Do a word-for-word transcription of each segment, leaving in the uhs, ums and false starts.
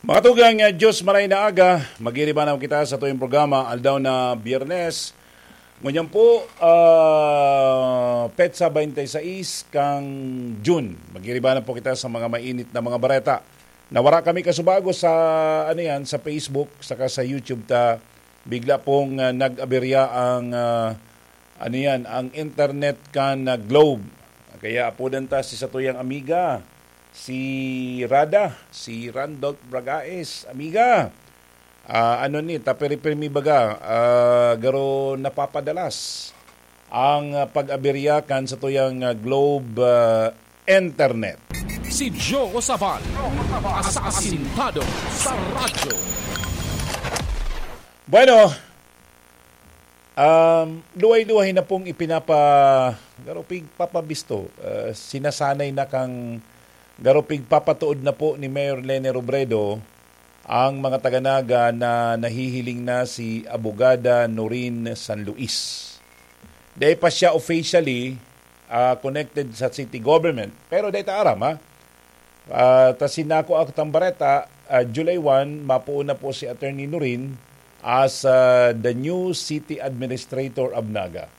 Mga tugang, ah, Diyos maray na aga, magiriba na kita sa tuyong programa, aldaw na Biyernes. Ngunyan po, ah, petsa twenty-six kang June. Magiriba na po kita sa mga mainit na mga bareta. Nawara kami kasubago sa, ano yan, sa Facebook, saka sa YouTube ta. Bigla pong, ah, nag-aberya ang, ah, ano yan, ang internet kan, ah, Globe. Kaya apodan ta si satuyang amiga, si Rada, si Randolph Bragaes. Amiga, ah, ano ni, tapiripirmi baga, ah, garo napapadalas ang, ah, pag-aberya kan satuyang, ah, Globe, ah, internet. Si Joe Sabal, asasintado sa radyo. Bueno, um, luhay-luhay na pong ipinapa-, garo pigpapabisto, ah, sinasanay na kang garo pigpapatuod na po ni Mayor Leni Robredo ang mga taga-Naga na nahihiling na si Abogada Noreen San Luis. Dai pa siya officially, ah, connected sa city government, pero dai ta aram, ha? Ah, ta sinako ak tang bareta, ah, July one, mapoon na po si Attorney Noreen as, ah, the new city administrator of Naga.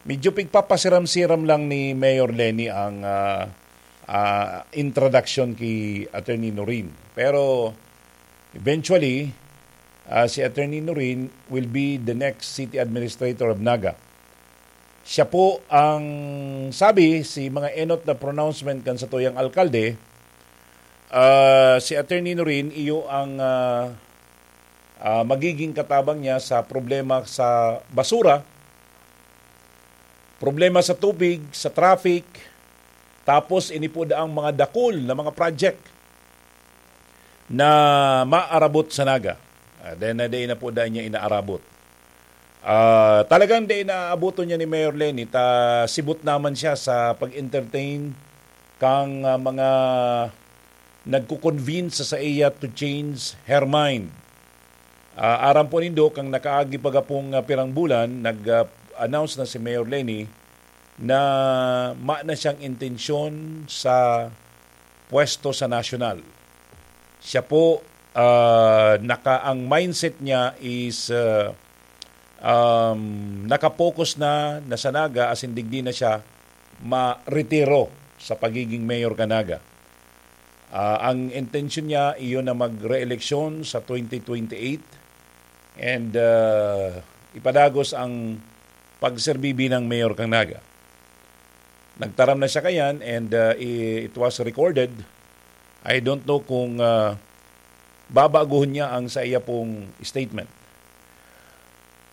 Medyo pigpapasiram-siram lang ni Mayor Leni ang, ah, ah, introduction ki Attorney Noreen. Pero eventually, ah, si Attorney Noreen will be the next city administrator of Naga. Siya po ang sabi, si mga enot na pronouncement kan satuyang alkalde, ah, si Attorney Noreen, iyo ang, ah, ah, magiging katabang niya sa problema sa basura, problema sa tubig, sa traffic, tapos ini po daang mga dakul na mga project na maarabot sa Naga. Ah, dahil na dai na po dahil niya inaarabot. Ah, talagang dai naaboton niya ni Mayor Leni, ta sibot naman siya sa pag-entertain kang, ah, mga nagko-convince sa saiya to change her mind. Ah, aram po nindo, kang nakaagi pa gapong, ah, pirang bulan, nag, ah, announce na si Mayor Leni na ma na siyang intensyon sa pwesto sa nasyonal. Siya po, ah, naka-, ang mindset niya is, ah, um, nakapokus na, na sa Naga, asin digdi na siya ma-retiro sa pagiging mayor kan Naga. Ah, ang intensyon niya, iyon na mag-re-eleksyon sa twenty twenty-eight and, ah, ipadagos ang pagserbi bilang mayor kan Naga. Nagtaram na siya kayan and, ah, i-, it was recorded. I don't know kung, ah, babaguhon niya ang sa iya pong statement.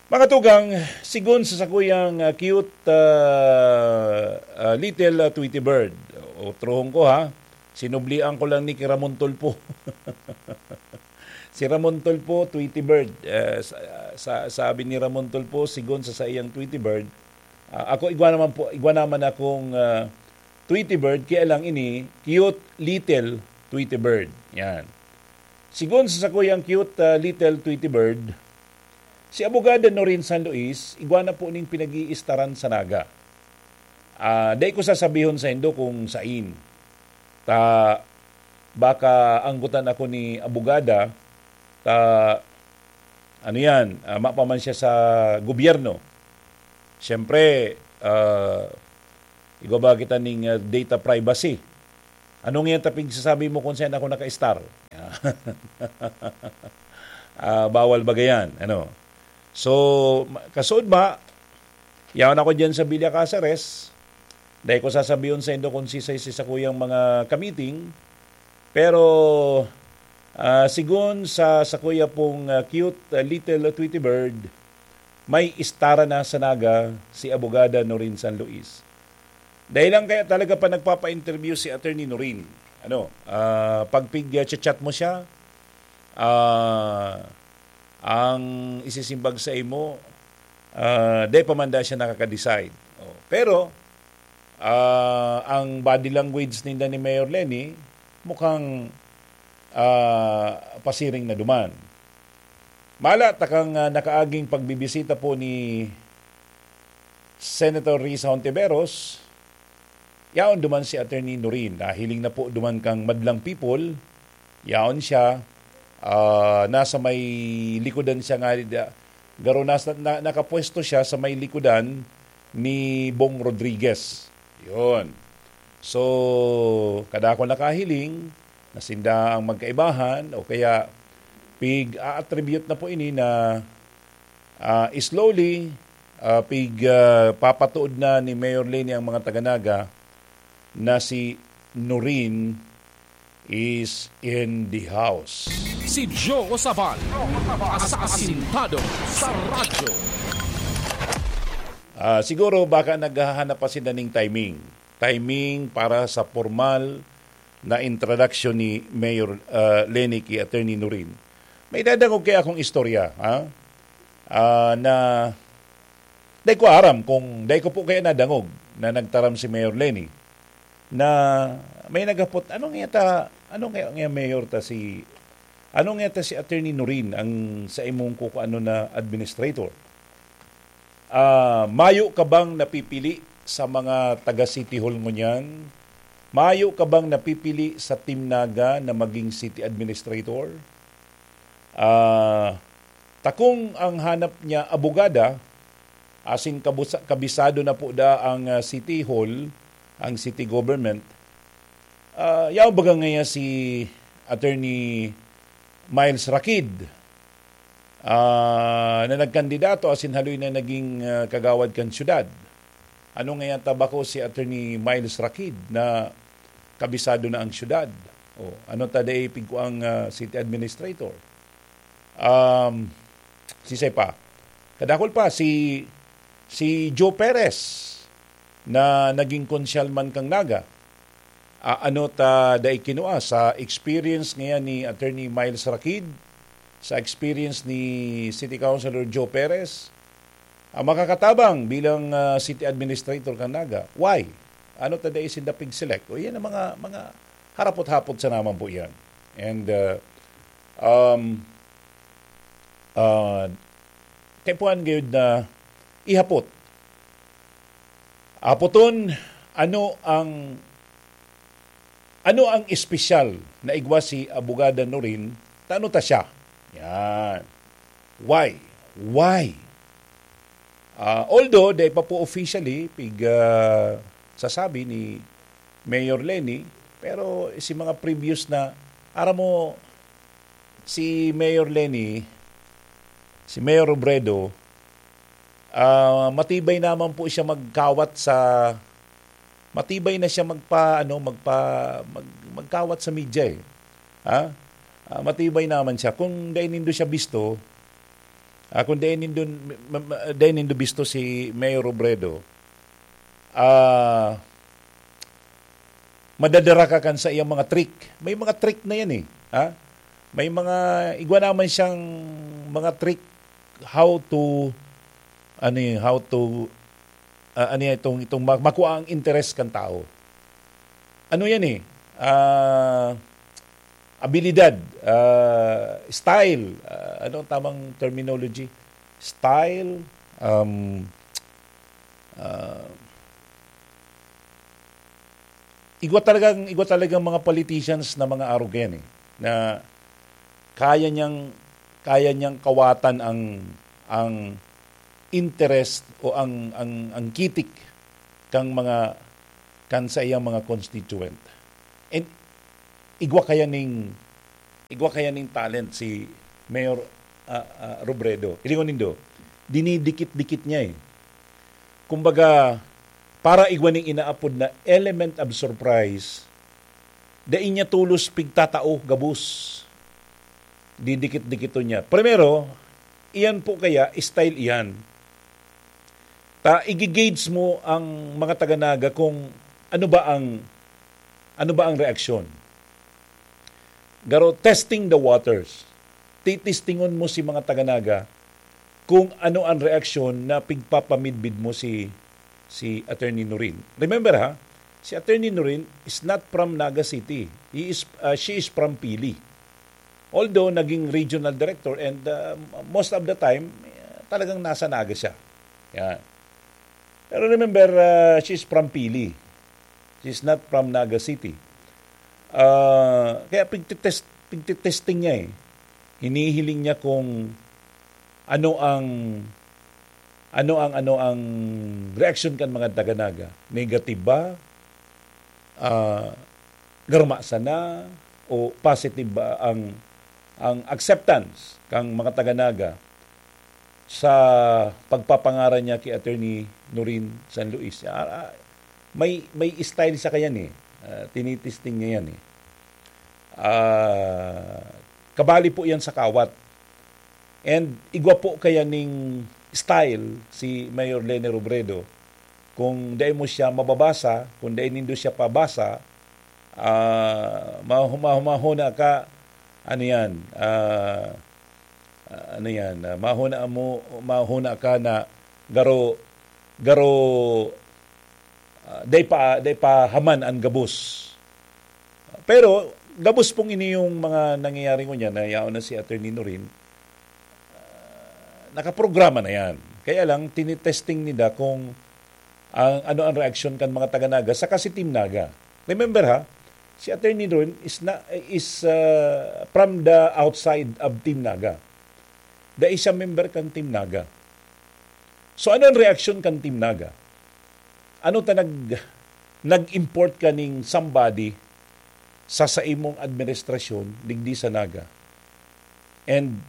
Mga tugang, sigon sa sakuyang, ah, cute, ah, ah, little, ah, Tweety Bird. Otrohon ko, ha, sinublian ko lang ni ki Ramon Tulfo. Si Ramon Tulfo, Tweety Bird. Eh, sa, sa, sabi ni Ramon Tulfo, sigon sa saiyang Tweety Bird, ah, ako igwa naman po, igwa naman akong, ah, Tweety Bird, kaya lang ini, cute little Tweety Bird. Yan. Sigon sa sakuyang cute, ah, little Tweety Bird, si Abogada Noreen San Luis, igwa na po ning pinag-iistaran sa Naga. Ah, dai ko sasabihon saindo kung sain. Ta, baka anggotan ako ni abogada, ta, ano yan, ah, mapaman siya sa gobyerno. Siyempre, ah, igwa ba kita ning, ah, data privacy? Anong yan ta pigsasabi mo kung saan ako naka-star? Ah, bawal ba gayan? Ano? So, ma-, kasuod ba, yaon ako dyan sa Villa Caceres. Dai ko sasabihon saindo kung sisay si sakuyang mga kamiting. Pero, ah, sigon sa sakuya pong, ah, cute, ah, little Tweety Bird, may istara na sa Naga si Abogada Noreen San Luis. Dahil lang kaya talaga pa nagpapa-interview si Attorney Noreen. Ano, ah, pag pig-chat mo siya, ah, ang isisimbag sa imo, ah, dai pa man da siya nakaka-decide. Oh, pero, ah, ang body language ninda ni Mayor Leni, mukhang, ah, pasiring na duman. Mala, takang, ah, nakaaging pagbibisita po ni Senator Risa Hontiveros, yaon duman si Attorney Noreen. Nahiling na po duman kang madlang people, yaon siya, Ah, nasa may likodan siya nga, da-, garo nasa, na, nakapwesto siya sa may likodan ni Bong Rodriguez. Yun. So, kadakol nakahiling na sinda ang magkaibahan o kaya pig-a-attribute na po ini na, ah, slowly, ah, pig-, ah, papatuod na ni Mayor Leni ang mga taga-Naga na si Norin is in the house. Si Joe Sabal, asasintado sa radyo. Ah, siguro baka naghahanap pa sila ning timing. Timing para sa formal na introduction ni Mayor, ah, Leni ki Attorney Norin. May dadangog kaya akong istorya, ha? Ah, na dai ko aram kung dai ko po kaya nadangog na nagtaram si Mayor Leni na may naghapot, "Ano nga ta, ano nga, nga mayor ta si, ano nga ta si Attorney Norin ang sa imong kukuano na administrator? Ah, mayo ka bang napipili sa mga taga City Hall ngunyan? Mayo ka bang napipili sa Team Naga na maging city administrator?" Ah, takong ang hanap niya abogada, asin kabusa-, kabisado na po da ang, ah, City Hall, ang city government. Ah, yaon baga ngaya si Attorney Miles Rakid, ah, na nagkandidato asin haloy na naging, ah, kagawad kan syudad. Ano ngaya ta bako si Attorney Miles Rakid na kabisado na ang syudad? O, ano ta dai pigkuang, ah, city administrator? Um, sisay pa? Kadakol pa, si, si Joe Perez na naging konsyal man kan Naga. Ah, ano ta dai kinua sa experience ngayan ni Attorney Miles Rakid, sa experience ni City Councilor Joe Perez, ah, makakatabang bilang, ah, city administrator kan Naga? Why? Ano ta dai sinda pig-select? O, yan ang mga, mga harapot-hapot sa naman po yan. And, ah, um, ah, kaipuhan gayud na ihapot. Apoton, ano ang, ano ang espesyal na igwa si Abogada Norin? Tano ta siya? Yan. Why? Why? Ah, although, dai pa po officially pig, ah, sasabi ni Mayor Leni, pero si mga previous na, aram mo, si Mayor Leni, si Mayor Robredo, ah, matibay naman po siya magkawat sa, matibay na siya magpa-, ano, magpa-, mag-, magkawat sa media eh. Ha? Ah, matibay naman siya. Kung dai nindo siya bisto, ah, kung dai nindo, ma-, ma-, dai nindo bisto si Mayor Robredo, ah, madadara ka kan sa iyang mga trick. May mga trick na yan eh. Ha? May mga, igwa naman siyang mga trick how to, ano eh, how to, ah, ano yan, itong, itong ma-, makuha ang interes kan tao. Ano yan eh? Ah, abilidad, ah, style, ah, ano ang tamang terminology? Style, um, ah, igwa talagang, igwa talagang mga politicians na mga arogan eh, na kaya niyang, kaya niyang kawatan ang, ang interest o ang, ang, ang kitik kang mga, kan sa iyang mga constituent. And igwa kaya ning, igwa kaya ning talent si Mayor, ah, ah, Robredo. Hilingon nindo, dinidikit-dikit niya eh. Kumbaga, para igwa ning inaapod na element of surprise, dai niya tolos pigtatao gabos. Didikit-dikiton niya. Primero, iyan po kaya, style iyan. Ta, igigauge mo ang mga taga-Naga kung ano ba ang, ano ba ang reaksyon. Garo, testing the waters. Titistingon mo si mga taga-Naga kung ano ang reaksyon na pigpapamidbid mo si, si Attorney Norin. Remember ha, si Attorney Norin is not from Naga City. He is, uh, she is from Pili. Although naging regional director and, uh, most of the time, uh, talagang nasa Naga siya. Yan. Pero remember, uh, she's from Pili. She's not from Naga City. Uh, kaya pigtitest-, pigtitesting niya eh. Hinihiling niya kung ano ang, ano ang, ano ang reaksyon kan mga taga Naga. Negative ba? Ah, garma sana o positive ba ang, ang acceptance kang mga taga Naga sa pagpapangaran niya ki Attorney Norin San Luis? Ah, ah, may, may style siya kayan eh. Ah, tinitesting niya yan eh. Ah, kabali po yan sa kawat. And igwa po kaya ning style si Mayor Leni Robredo. Kung dai mo siya mababasa, kung dai nindo siya pabasa, ah, mahu-, mahu-, mahuna ka, ano yan, ah, ah, ano yan, ah, mahuna mo, mahuna ka na garo, garo, ah, dai pa, dai pa haman an gabos. Pero gabos pong ini yung mga nangyayari ngunyan na yaon na si Attorney Norin, ah, nakaprograma na yan. Kaya lang, tinitesting nila kung ang, ano ang reaksyon kan mga taga Naga saka si Team Naga. Remember ha, si Attorney Norin is na, is, ah, from the outside of Team Naga. Dai siya member kan Team Naga. So ano ang reaksyon kan Team Naga? Ano ta nag-, nag-import ka ning somebody sa saimong administrasyon digdi sa Naga? And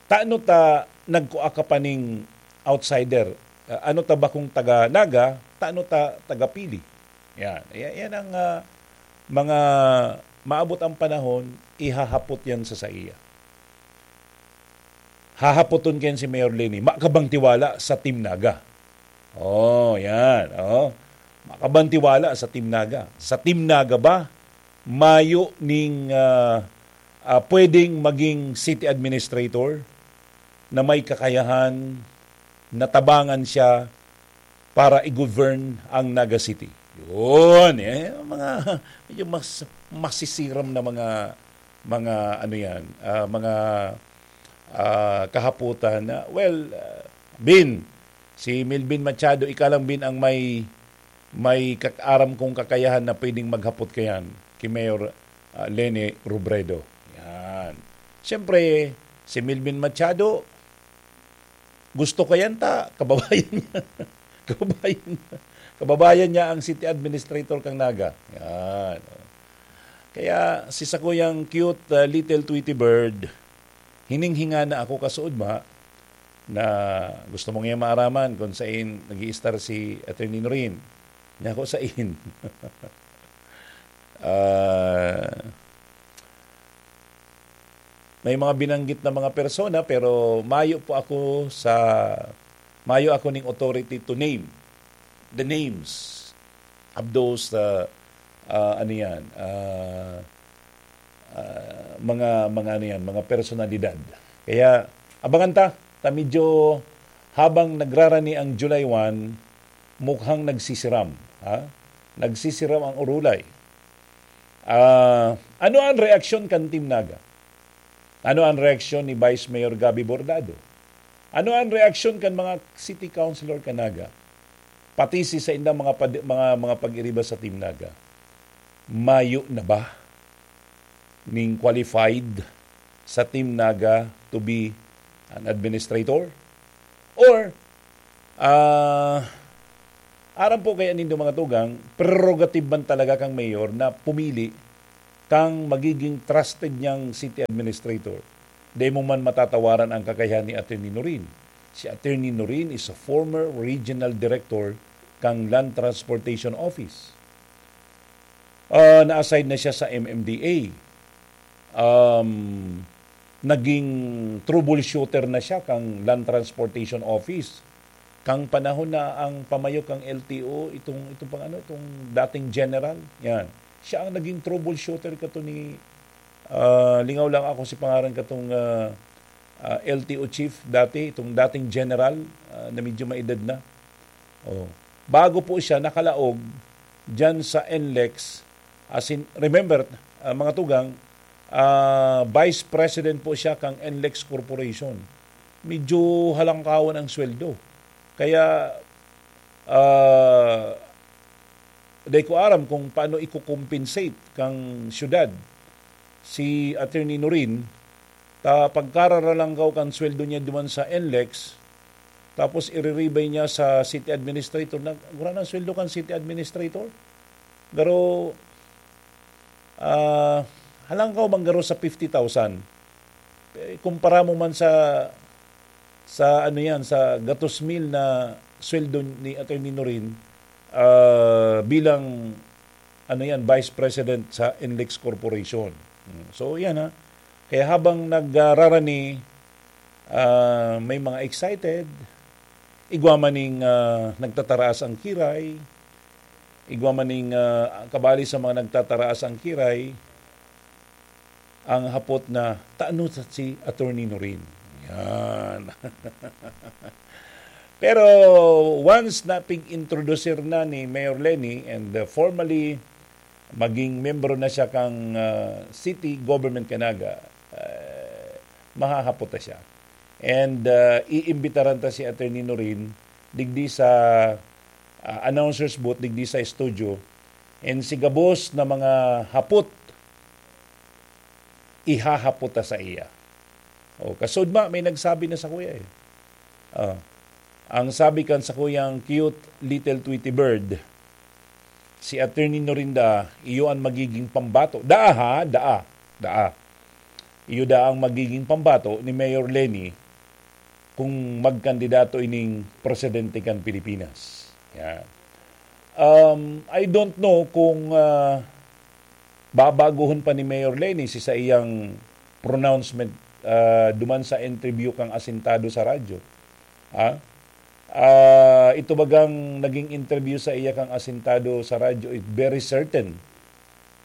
tano ta nagkua ka pa ning outsider? Ah, ano ta ba kung taga Naga, tano ta taga Pili? Yan. Yan, yan ang, ah, mga maabot ang panahon, ihahapot yan sa saiya. Hahapoton kayan si Mayor Leni, "Ma ka bang tiwala sa Team Naga?" Oh, yan. Oh. "Ma ka bang tiwala sa Team Naga? Sa Team Naga ba, mayo ning, ah, ah, pwedeng maging city administrator na may kakayahan, natabangan siya para i-govern ang Naga City?" Yun, eh, mga medyo mas, masisiram na mga, mga ano yan, ah, mga, ah, kahaputan na, well, ah, Bin, si Melvin Machado, ika lang, Bin, ang may, may kak-, aram kong kakayahan na pwedeng maghapot kayan ki Mayor, ah, Leni Robredo. Yan. Siyempre, si Melvin Machado, gusto kayan ta, kababayan niya. Kababayan niya. Kababayan niya ang city administrator kang Naga. Yan. Kaya si sakuyang cute, ah, little Tweety Bird, hininghinga na ako kasuod ma, na gusto mo niya maaraman kung sain nag-i-star si Attorney Norin. Niya ako sain. Ah, may mga binanggit na mga persona, pero mayo po ako sa, mayo ako ning authority to name the names of those, uh, uh, ano yan, uh, uh, mga, mga ano yan, mga personalidad. Kaya abangan ta, ta medyo habang nagrarani ang July one, mukhang nagsisiram, ha? Nagsisiram ang urulay. Ah, ano ang reaksyon kan Team Naga? Ano ang reaksyon ni Vice Mayor Gabby Bordado? Ano ang reaksyon kan mga city councilor kan Naga? Pati si saindang mga pad-, mga, mga pag-iriba sa Team Naga. Mayo na ba ning qualified sa Team Naga to be an administrator? Or, ah, aram po kaya nindo, mga tugang, prerogative man talaga kang mayor na pumili kang magiging trusted niyang city administrator. Dai mo man matatawaran ang kakayahan ni Attorney Norin. Si Attorney Norin is a former regional director kang Land Transportation Office. Ah, na-assign na siya sa M M D A. Um, naging troubleshooter na siya kang Land Transportation Office. Kang panahon na ang pamayo kang L T O, itong, itong pang ano, itong dating general, yan. Siya ang naging troubleshooter kato ni, ah, lingaw lang ako si pangaran katong, ah, ah, L T O chief dati, itong dating general, ah, na medyo maedad na. Oh. Bago po siya nakalaog diyan sa NLEX, as in, remember, ah, mga tugang, ah, vice president po siya kang NLEX Corporation. Medyo halangkawan ang sweldo. Kaya, ah, di ko aram kung paano i-compensate kang syudad si Attorney Norin Ta pagkararalangkaw kan sweldo niya duman sa NLEX, tapos iriribay niya sa city administrator. Nag-, gurang ang sweldo kan city administrator? Garo, ah, halangkaw man garo sa fifty thousand. Eh, kumpara mo man sa, sa ano yan, sa gatos mil na sweldo ni Attorney Norin, ah, bilang, ano yan, Vice President sa NLEX Corporation. Mm. So, yan ha. Kaya habang nagrararani, ah, may mga excited, igwa man ning, ah, nagtataraas ang kiray, igwa man ning, ah, kabali sa mga nagtataraas ang kiray, ang hapot na, "Tano ta si Attorney Norin?" Yan. Pero once na pig-introducer na ni Mayor Leni and, uh, formally maging membro na siya kang, uh, city government kanaga, uh, mahahapot na siya. And, uh, iimbitaran ta si Attorney Norin digdi sa, uh, announcer's booth, digdi sa studio. And si gabos na mga hapot, ihahapot ta sa iya. O, kasudma, may nagsabi na sa kuya eh. Ah, ang sabi kan sa kuyang cute little Tweety Bird, si Attorney Norinda, iyo ang magiging pambato. Daa ha, daa, daa. Iyo daa ang magiging pambato ni Mayor Leni kung magkandidato ining presidente kan Pilipinas. Yan. Um, I don't know kung, ah, babaguhon pa ni Mayor Leni si saiyang pronouncement, ah, duman sa interview kang asintado sa radyo. Ha? Ah, ito bagang naging interview sa iya kang asintado sa radyo, it very certain.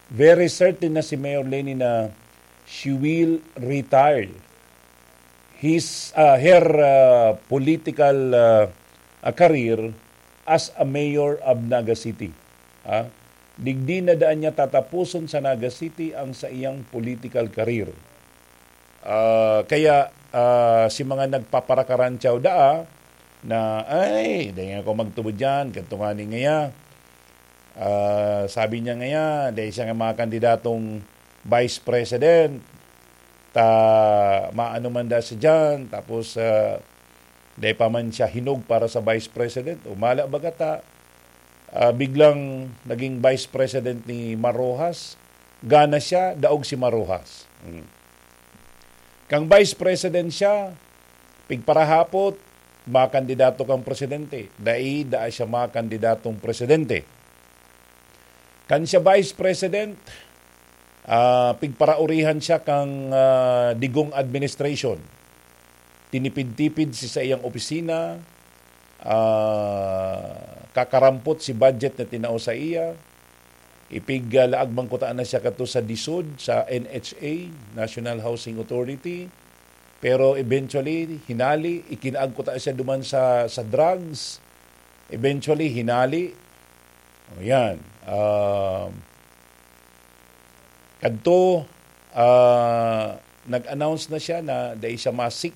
Very certain na si Mayor Leni na she will retire his, ah, her, ah, political, ah, ah, career as a mayor of Naga City. Ha? Digdi na daan niya tatapuson sa Naga City ang saiyang political career. Ah, kaya, ah, si mga nagpaparakarantiyaw daa na, "Ay, dai ako magtubod diyan, ganito nga ni ngaya." Ah, sabi niya ngaya, dai siya nga mga kandidatong vice president, ta maano man da siya diyan, tapos, ah, dai pa man siya hinog para sa vice president. O mala baga ta, ah, biglang naging vice president ni Mar Roxas, gana siya, daog si Mar Roxas. Hmm. Kang vice president siya, pigparahapot, makandidato kang presidente. Dai, daa siya makandidatong presidente. Kan siya vice president, ah, pigparaurihan siya kang, ah, Digong administration. Tinipid-tipid si saiyang opisina, ah, kakarampot si budget na tinao sa iya. Ipig, ah, laag man kuta na siya kato sa DISUD, sa N H A, National Housing Authority. Pero eventually, hinali, ikinaag kuta siya duman sa, sa drugs. Eventually, hinali. O yan. Um, kadto, ah, nag-announce na siya na dai siya masik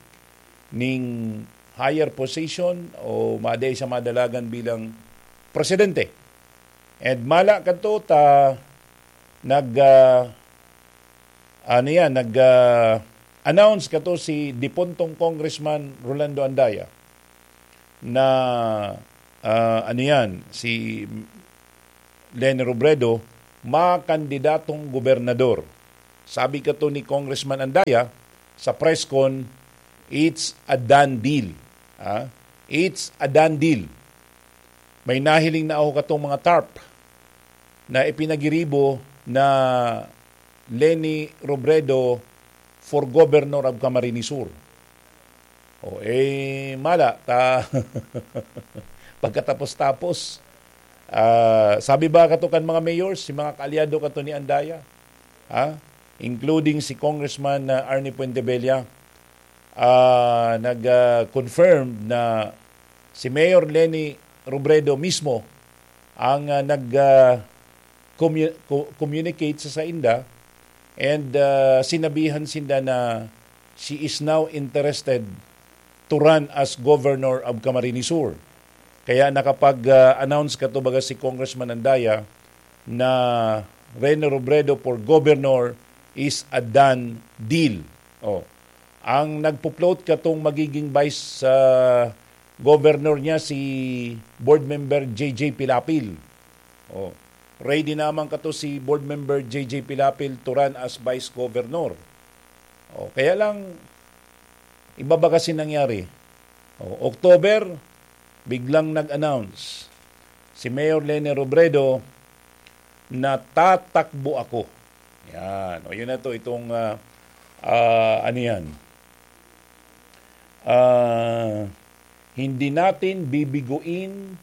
ning higher position o ma-, dai siya madalagan bilang presidente. And mala kadto ta nag, ah, ano yan, nag, ah, announce kadto si dipuntong Congressman Rolando Andaya na, ah, ano yan, si Leni Robredo makandidatong gobernador. Sabi kadto ni Congressman Andaya sa press con, "It's a done deal." Ah, "It's a done deal." May nahiling na ako katong mga tarp na ipinagiribo na Leni Robredo for Governor of Camarines Sur. O, eh, mala, ta, pagkatapos-tapos, ah, sabi ba kato kan mga mayors, si mga kaalyado kato ni Andaya, ha? Including si Congressman, ah, Arnie Fuentebella, ah, nag, ah, confirm na si Mayor Leni Robredo mismo ang, ah, nag, ah, commu-, co-, communicate sa sainda and, ah, sinabihan sinda na she is now interested to run as governor of Camarines Sur. Kaya nakapag, ah, announce kato baga si Congressman Andaya na Rene Robredo for governor is a done deal. Oh. Ang nagpo-float katong magiging vice, ah, governor niya si board member J J Pilapil. Oh, ready naman kato si board member J J Pilapil to run as vice governor. Oh, kaya lang, iba ba kasi nangyari? Oh, October, biglang nag-announce si Mayor Leni Robredo na tatakbo ako. Yan. O, yun na to, itong, ah, ah, ano yan? Ah, hindi natin bibiguin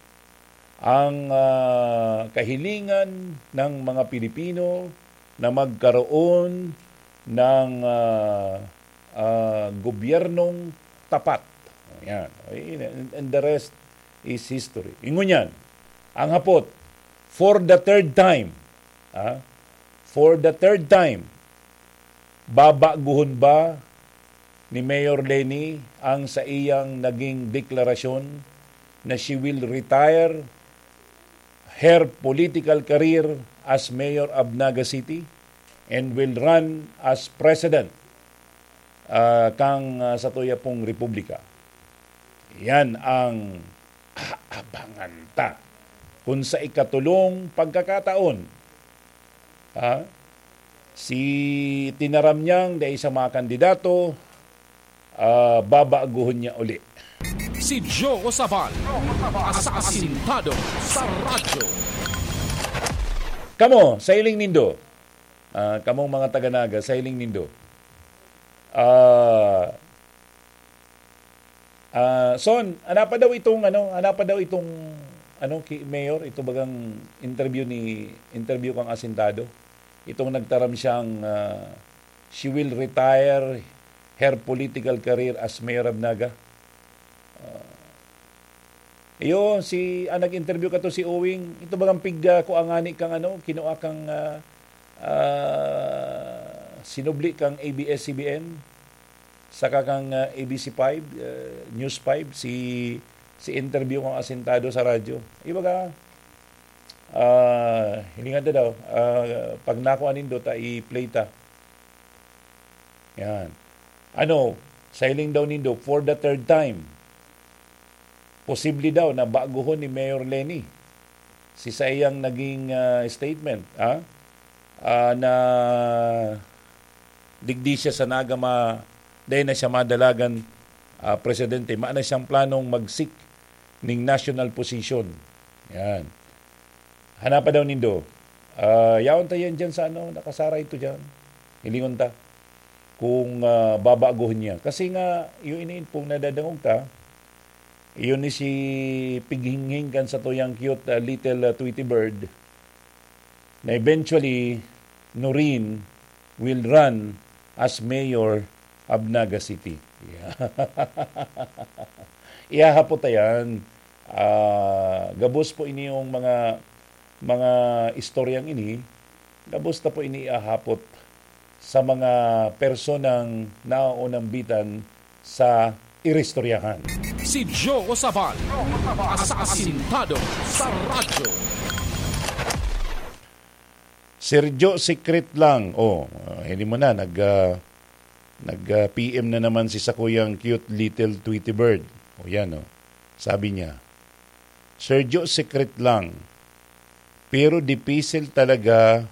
ang, ah, kahilingan ng mga Pilipino na magkaroon ng, ah, ah, gobyernong tapat. Yan. And, and the rest is history. Ingon yan, ang hapot, for the third time, ah, for the third time, babaguhon ba ni Mayor Leni ang saiyang naging deklarasyon na she will retire her political career as mayor of Naga City and will run as president, ah, kang, ah, satuya pong republika. Yan ang aabangan ta. Kung sa ikatulong pagkakataon, ha, si tinaram niyang dai siya makandidato, ah, babaguhon niya uli. Si Joe Sabal, asasintado sa radyo. Kamo, sa hiling nindo, ah, kamong mga taga-Naga, sa hiling nindo, ah, ah, Son, ana pa daw itong, ano, ana pa daw itong, ano, ki Mayor, ito bagang interview ni, interview kang asintado. Itong nagtaram siyang, ah, she will retire her political career as Mayor of Naga. Ah, iyo, si, ang nag-interview kato si Owing, ito bagang pig, ah, kua ngani kang, ano, kinua kang, ah, ah, sinubli kang A B S C B N, saka kang, ah, A B C five, ah, News five, si, si interview kang asintado sa radyo. Ibaga, ah, hilingan ta daw, ah, pag nakuha nindo ta, i-play ta. Yan. Ano, sa hiling daw nindo, for the third time, posible daw na baguhon ni Mayor Leni si saiyang naging, ah, statement, ha? Ah, na digdi siya sa Naga ma-, dahil na siya madalagan, ah, presidente, maana siyang planong mag-seek ning national position. Yan. Hanapa daw nindo. Ah, yaon ta yan dyan sa ano, nakasaray to dyan. Hilingon ta kung, ah, babaguhon niya. Kasi nga, yung iniinpong nadadangog ta, yun ni si pighinghing kan sa tuyang cute, ah, little, ah, Tweety Bird, na eventually, Noreen will run as mayor of Naga City. Yeah. Ihahapot ta yan. Ah, gabos po ini yung mga, mga istoryang ini, gabos ta po ini ihahapot sa mga personang naoonambitan sa iristoryahan. Si Joe Sabal, asasintado sa radyo. Sergio, secret lang. Oh, ah, hindi mo na, nag, ah, nag, ah, P M na naman si sakuyang cute little Tweety Bird. O yan, oh. Sabi niya, "Sergio, secret lang. Pero dipisil talaga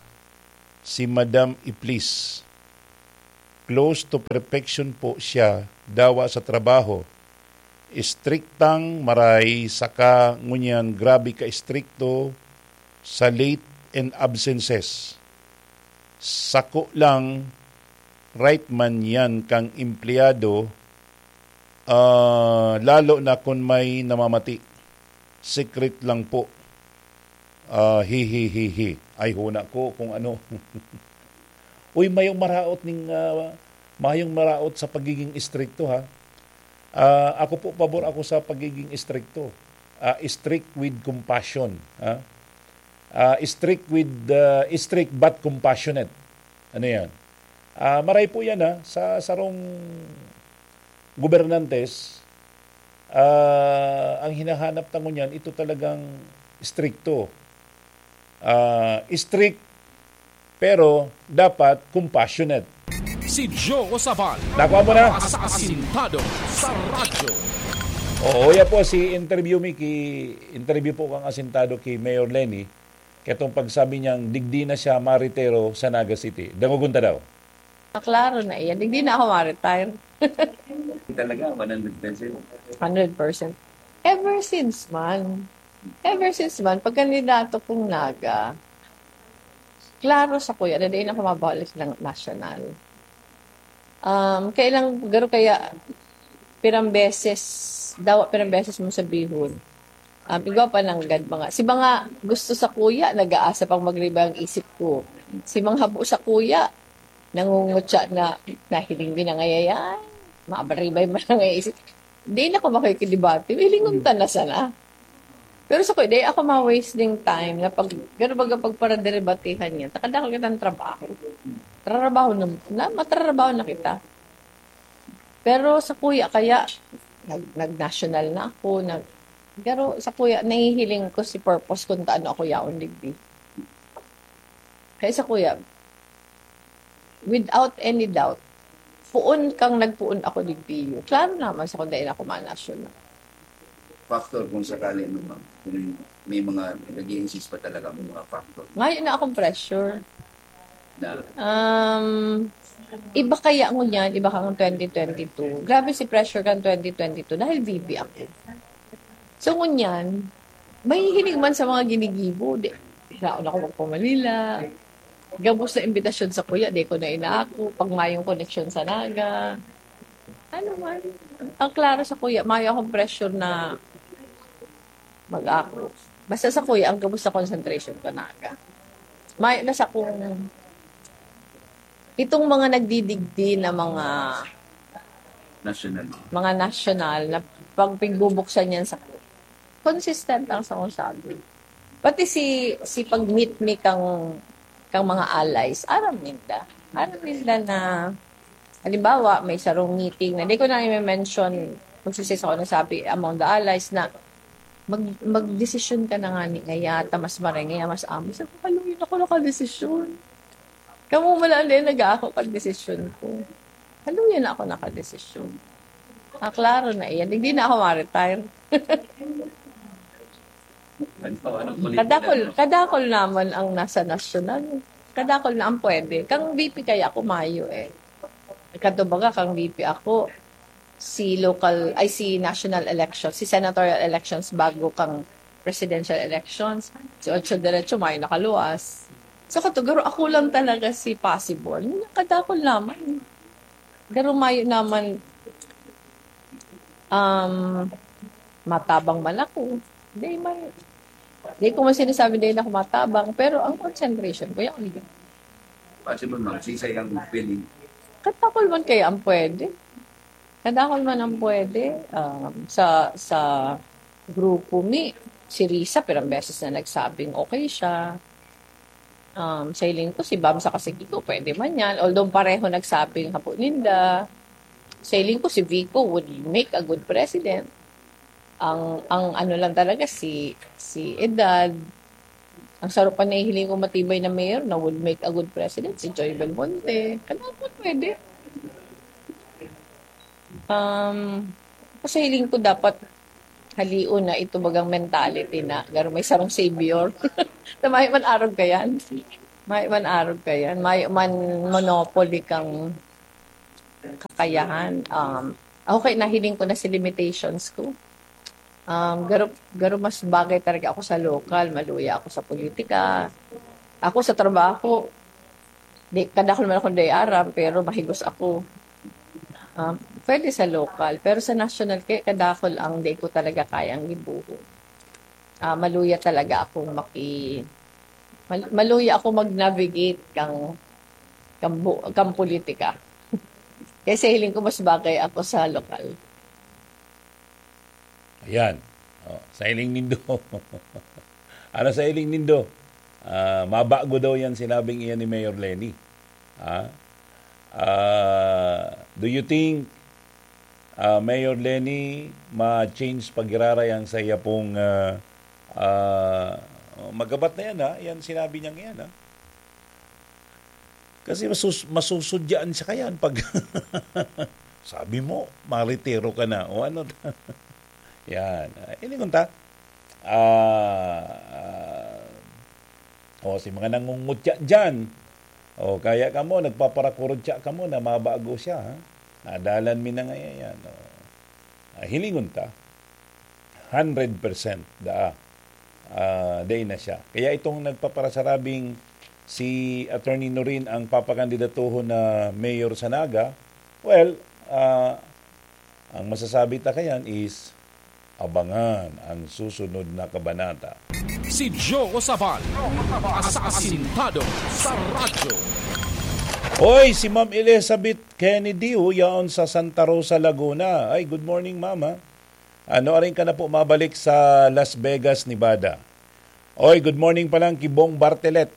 si Madam Iplis. Close to perfection po siya, dawa sa trabaho. Istriktang maray, saka ngunyan grabe ka-istrikto sa late and absences. Sako lang, right man yan kang empleyado, ah, lalo na kun may namamati. Secret lang po. Ah, hi, hi, hi, hi." Ay, huna ko kung ano. Uy, mayong maraot ning, ah, mayong maraot sa pagiging istrikto, ha. Ah, ako po, pabor ako sa pagiging istrikto. Ah, strict with compassion, ha. Ah, strict with, ah, strict but compassionate. Ano yan? Ah, maray po yan, ha, sa sarong gobernantes, ah, ang hinahanap ta ngunyan, ito talagang istrikto. Ah, strict, pero dapat compassionate. Si Joe Sabal. Nakuha mo na? Sa Asintado sa Radyo. Oo, ya po si interview mi ki interview po kang Asintado ki Mayor Leni. Ketong pagsabi niyang digdi na siya maritero sa Naga City. Dangogon ta daw. Klaro na iyan. Hindi na ako ma-retire. Talaga, one hundred percent. Hundred percent. Ever since man. Ever since man, pag kandidato kong Naga, klaro sa kuya na dahil ako mabalik ng national. Um, kailang garo kaya pirang beses, dawa pirang beses mo sabihon. Um, igwa pa nanggad mga, si mga gusto sa kuya, nag-aasa pang magribay ang isip ko. Si mga habo sa kuya, nangungutya na nahiling din ang ayayan. Mabaribay man ang isip. Di na ko makikidebate. Hilingon ta na sana. Pero sa kuya, di ako ma-waste ding time na pag, gano baga pagparaderebatihan niya, takadakal kitang trabaho. Trarabaho na, na, matrarabaho na kita. Pero sa kuya, kaya, nag, nag-national na ako, nag, pero sa kuya, nahihiling ko si purpose kung taano ako yaon digdi. Kaya sa kuya, without any doubt, puon kang nagpuon ako digdi. Klaro naman sa kung dahil ako manational. Factor kung sakali, no, ma'am, kung may mga nag-i-insist pa talaga ang mga factor Ngayon na akong pressure. Na Um, iba kaya ngunyan, iba kang twenty twenty-two. Grabe si pressure kang twenty twenty-two dahil V P ako. So ngunyan, mahihiling man sa mga ginigibo. Di, hiraon ako magpa-Manila. Gabos na imbitasyon sa kuya, di ko na inaako. Pag mayong koneksyon sa Naga. Ano man, ang klaro sa kuya, mayo akong pressure na mag-ako. Basta sa kuya, ang gabos sa concentration ko, Naga. Mayo na sa kung itong mga nagdidigdi na mga national. mga national na pag pigbubuksan yan sa consistent ang sa kung sabi. Pati si si pag-meet me kang kang mga allies, aram ninda. Aram ninda na halimbawa may sarong meeting na di ko na i-mention kung sisisa ko nasabi among the allies na mag magdesisyon ka na nga ni ngaya ta mas maray ngaya mas amo. Sabi ko, "Haluy, ako nakadesisyon." Kamo man lang din nag-aako kan desisyon ko. Haluya na ako nakadesisyon. Ah, klaro na iyan. Hindi na ako ma-retire. Ano, anong political, Kadakol, ano? kadakol naman ang nasa nasyonal. Kadakol na ang pwede. Kang V P kaya ako mayo eh. Kato baga, kang V P ako, si local, ay si national election, si senatorial elections bago kang presidential elections. Si Ocho Derecho, mayo nakaluwas. So, katugaro, ako lang talaga si possible. Kadakol naman. Garo mayo naman, um, matabang man ako. Di man, di ko man sinasabi dahil ako matabang, pero ang concentration ko, yung Possible, ma'am, sisay ang feeling. Kadakol man kaya ang pwede. Kadakol man ang pwede. Um, sa, sa grupo mi, si Risa, pirang beses na nagsabing okay siya. Um, sa hiling ko, si Bam sa kasigi ko, pwede man yan. Although pareho nagsabing hapo ninda. Sa hiling ko, si Vico would make a good president. Ang, ang ano lang talaga, si, si edad. Ang sarap pa nahihiling ko matibay na mayor na would make a good president, si Joy Belmonte. Kadakol pwede. Um, kasi hiling ko dapat halion na ito bagang mentality na garo may sarong savior. Na mayo man arog ka yan. Mayo man arog ka yan. Mayo man monopoly kang kakayahan. Um, okay, nahiling ko na si limitations ko. Um, garo, garo mas bagay talaga ako sa lokal, maluya ako sa politika. Ako sa trabaho, di, kadakol man akong di aram, pero mahigos ako. Um, pwede sa lokal, pero sa national, kaya kadakol ang di ko talaga kayang gibuho. Ah, maluya talaga akong maki... Mal, maluya ako mag-navigate kang, kang, bu- kang politika. Kaya sa hiling ko, mas bagay ako sa lokal. Ayan. Oh, sa hiling nindo. Ano sa hiling nindo? Ah, mabago daw yan sinabing iyan ni Mayor Leni. Ah, ah, do you think ah, Mayor Leni, ma-change pag-iraray ang sa iya pong ah, ah, magabat na yan ha? Yan sinabi niya ngayon ha? Kasi masus-, masusudyaan siya kayan pag sabi mo, maritiro ka na, o ano. Yan. Ah, hilingon ta. Ah, ah, o, si mga nangungutya dyan. O, kaya kamo, nagpaparakurutya kamo na mabago siya, ha? Nadalan mi na ngayon yan, o. Ah, hilingon ta. Hundred percent daa, ah, dai na siya. Kaya itong nagpaparasarabing si Attorney Norin ang papakandidatuhon na mayor sa Naga, well, ah, ang masasabi ta kayan is abangan ang susunod na kabanata. Si Joe Sabal, asasintado sa radyo. Oy, si Ma'am Elizabeth Kennedy, oh, yaon sa Santa Rosa, Laguna. Ay, good morning, Mama. Ano, aring ka na po mabalik sa Las Vegas, Nevada. Oy, good morning pa lang ki Bong Bartelet.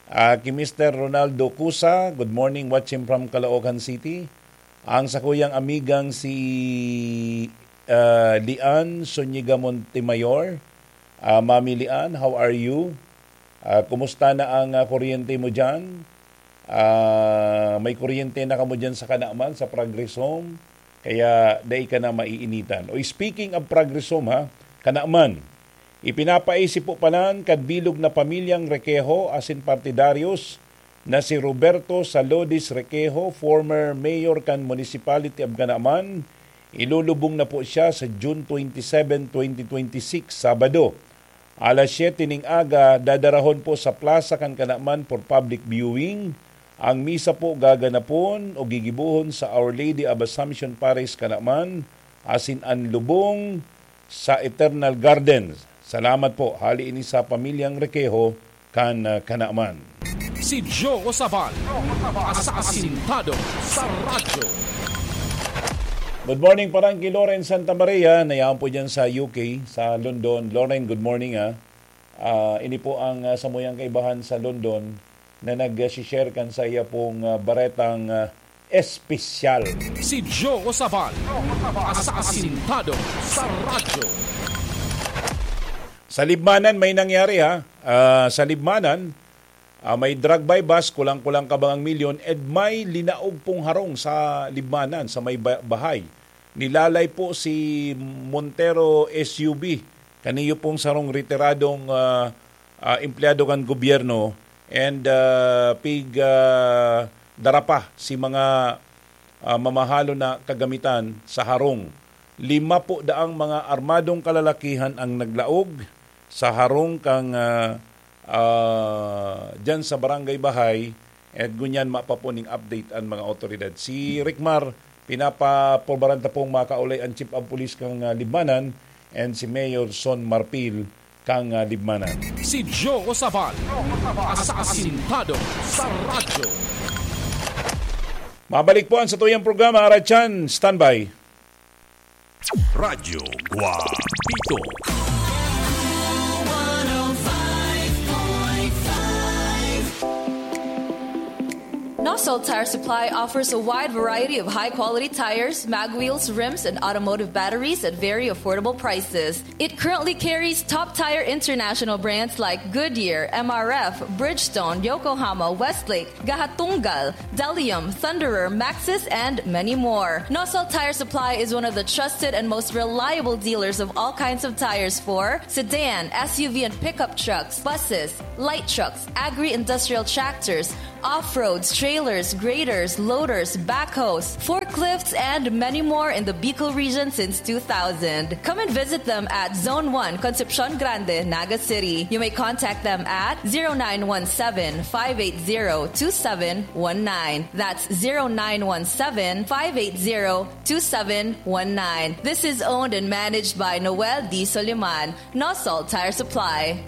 Ah, ki Mister Ronaldo Cusa, good morning, watching from Caloocan City. Ang sakuyang amigang si, ah, Lian Zuniga Montemayor. Ah, Mami Lian, how are you? Ah, kumusta na ang, ah, kuryente mo diyan? Ah, may kuryente na kamo diyan sa Kanaman, sa Progress Home? Kaya dai ka na maiinitan. O, speaking of Progress Home, ha, Kanaman, ipinapaisip po palan kan bilog na pamilyang Requejo asin partidaryos na si Roberto Salodis Requejo, former mayor kan Municipality of Canaman. Ilulubong na po siya sa June twenty-seven, twenty twenty-six, Sabado. Alas siyete ning aga, dadarahon po sa plaza kan Kanaman for public viewing. Ang misa po gaganapon o gigibohon sa Our Lady of Assumption Parish, Kanaman, asin an lubong sa Eternal Gardens. Salamat po. Hali ini sa pamilyang Requejo kan, ah, Kanaman. Si Joe Sabal, asasintado sa radyo. Good morning, parang ki Loren Santa Maria, na yaon po dyan sa U K, sa London. Loren, good morning, ah. Ah, ini po ang, ah, samuyang kaibahan sa London na nag-share kan sa iya pong, ah, baretang, ah, espesyal. Si Joe Sabal, asasintado sa radyo. Sa Libmanan may nangyari, ha. Ah, sa Libmanan, ah, may drug buy bust, kulang-kulang kabangang milyon, and may linaog pong harong sa Libmanan, sa may ba-, bahay. Nilalay po si Montero S U V. Kaniyo pong sarong retiradong, ah, ah, empleyado kan gobyerno and, ah, pig, ah, dara pa si mga, ah, mamahalon na kagamitan sa harong. Lima po daang mga armadong kalalakihan ang naglaog sa harong kan, ah, ah, diyan sa Barangay Bahay, at ngunyan mapa po ning update ang mga otoridad. Si Rickmar, pinapapurbaran ta pong makaulay ang Chief of Police kan, ah, Libmanan and si Mayor Son Marfil kan, ah, Libmanan. Si Joe Sabal, asasintado sa radyo. Mabalik po ang satuyang programa, Aratsan. Standby. Radyo Guapito. Nosol Tire Supply offers a wide variety of high-quality tires, mag wheels, rims, and automotive batteries at very affordable prices. It currently carries Top Tire International brands like Goodyear, M R F, Bridgestone, Yokohama, Westlake, Gahatunggal, Delium, Thunderer, Maxxis, and many more. Nosol Tire Supply is one of the trusted and most reliable dealers of all kinds of tires for sedan, S U V, and pickup trucks, buses, light trucks, agri-industrial tractors, off-roads, trailers, graders, loaders, backhoes, forklifts, and many more in the Bicol region since two thousand. Come and visit them at Zone one, Concepcion Grande, Naga City. You may contact them at zero nine one seven, five eight zero, two seven one nine. That's zero nine one seven, five eight zero, two seven one nine. This is owned and managed by Noel D. Soliman, Nosol Tire Supply.